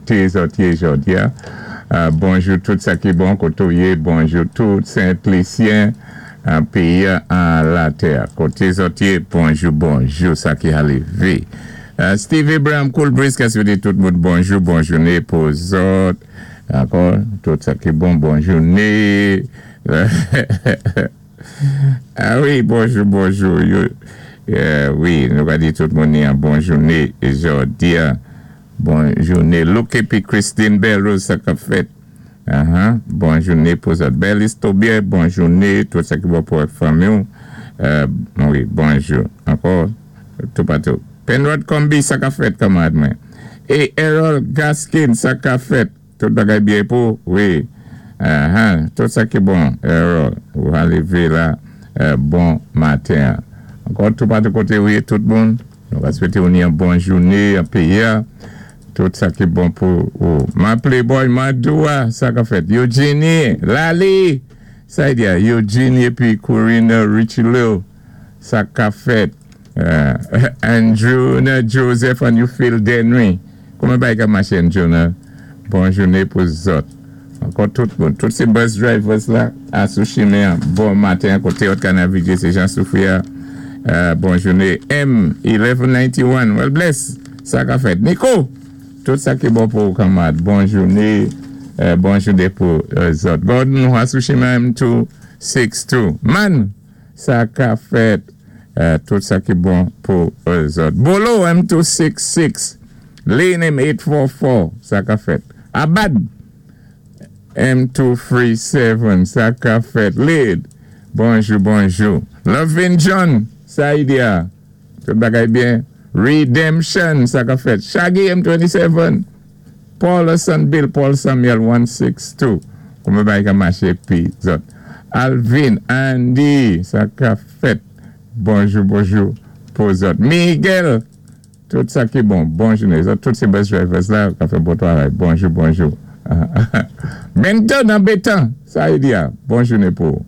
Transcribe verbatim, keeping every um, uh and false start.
Koté zòt yé jòdi-a. Euh, bonjou tout sa ki bon koté ou yé, bonjou tout Sent-Lisyen, an péyi an latè. Koté zòt yé, bonjou, bonjou, sa ki alivé. Euh, Steve Abraham, Cool Breeze, ka swété tout moun bonjou, bon jouné pou zòt. Ankò, tout sa ki bon, bon jouné. Ah wi, bonjou, bonjou. Yo, euh, wi, nou va di tout moun yon bon jouné jòdi-a. Bon jouné. Luke épi Christine Belrose, sa k ap fèt. Uh-huh. Bon jouné pou zòt. Bèl Istobie, bon jouné. Tout sa ki bon pou fanmi. Euh, wi, bonjou. Ankò, tout patou. Penrod Combi, sa k ap fèt, kanmarad mwen. É Errol Gaskin, sa k ap fèt. Tout bagay byen pou, wi. Uh-huh. Tout sa ki bon, Errol. Ou alivé la, euh, bon maten. Ankò, tout patou koté, wi, tout moun. Nou va swété yon bon jouné, an péyi. Tout sa ki bon pou ou. Ma playboy, ma doua, sa k ap fèt. Eugenie, Lali, sa y di, Eugenie épi Corina Richelieu, sa k ap fèt. Euh, Andrew, Joseph and you Phil Denry. Kouman bagay ka maché, Andrew, Bon jouné pou zòt. Ankò tout moun, tout sé bus drivers la, a sou chimen, bon maten, koté zòt ka navigé, sé Jean Soufia. Euh, bon jouné. M, eleven ninety-one, well bless, sa k ap fèt. Nico, tout sa ki bon pou kanmarad. Bon jouné, euh, bon jouné pou euh, zòt. Gordon, a sou chimen M two six two. Man, sa k ap fèt. Euh, tout sa ki bon pou zòt. Bolo, M two six six. Lane M eight four four, sa k ap fèt. Abad, M two three seven, sa k ap fèt. Lid, bonjou, bonjou. Lovin John, sa y di-a. Tout bagay byen. Redemption, sa k ap fèt. Shaggy M twenty-seven. Paul Bill, Paul Samuel one six two. Kouman bagay ka maché pi zòt. Alvin, Andy, sa k ap fèt. Bonjou, bonjou pou zòt. Miguel, tout sa ki bon. Bonjou, tout sé bus drivers la, ka fè bon twavay. Bonjou, bonjou. Menton an betan, sa y di-a. Bon jouné pou.